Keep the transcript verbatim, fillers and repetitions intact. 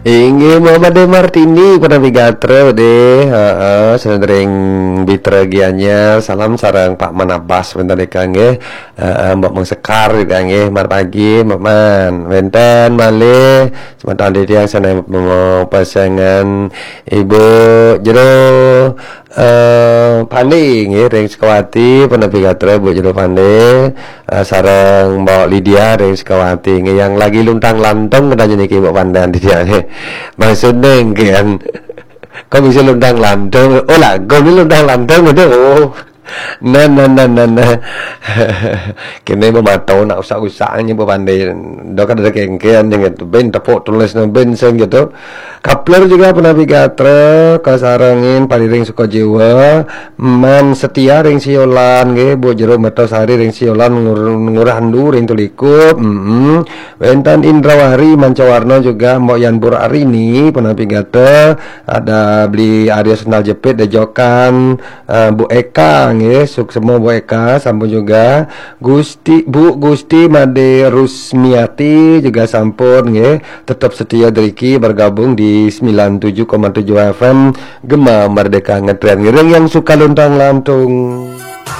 Inggih, Muhammad De Martini, pun napi gatra deh. Heeh, sadereng Bitra Gianyar, salam sareng Pak Manabas, wénten deka nggih. Heeh, Mbok Mang Sekar deka nggih, mat pagi, Mbok Man. Wénten malih semeton titiang sané pasengan Ibu Jero eh Pande nggih ring Sukawati, pun napi gatra Bu Jero Pande, eh, sareng Mbok Lydia ring Sukawati nggih, yang lagi luntang lantung katanya niki Mbok Pande titiang nggih. Maksudnya nggih kan, kok bisa luntang lantung? Oh, lagu ini luntang lantung, aduh. Nah, nah, nah, nah, nah. Kene memato nak usak-usak nyebut pandai. Dok ada kengkean yang gitu. Ben tepuk tulis ben sing gitu. Kapler juga pun napi gatra, kasarengin pariring Sukajiwa, Man Setia ring Siolan nggih, Bu Jero Mertosari ring Siolan, Ngur-, Ngurah Endu ring Tuliku. Mm-mm. Wénten Indrawari Mancawarna juga, Mbok Yan Burarini pun napi gatra, ada Beli Arya Sendal Jepit Dejokan, eh, Bu Eka nggih, suksema Bu Eka, sampun juga Gusti, Bu Gusti Made Rusmiati juga sampun nggih, tetap setia driki bergabung di sembilan tujuh koma tujuh F M Gema Merdeka Ngetren. Ngiring yang suka luntang lantung.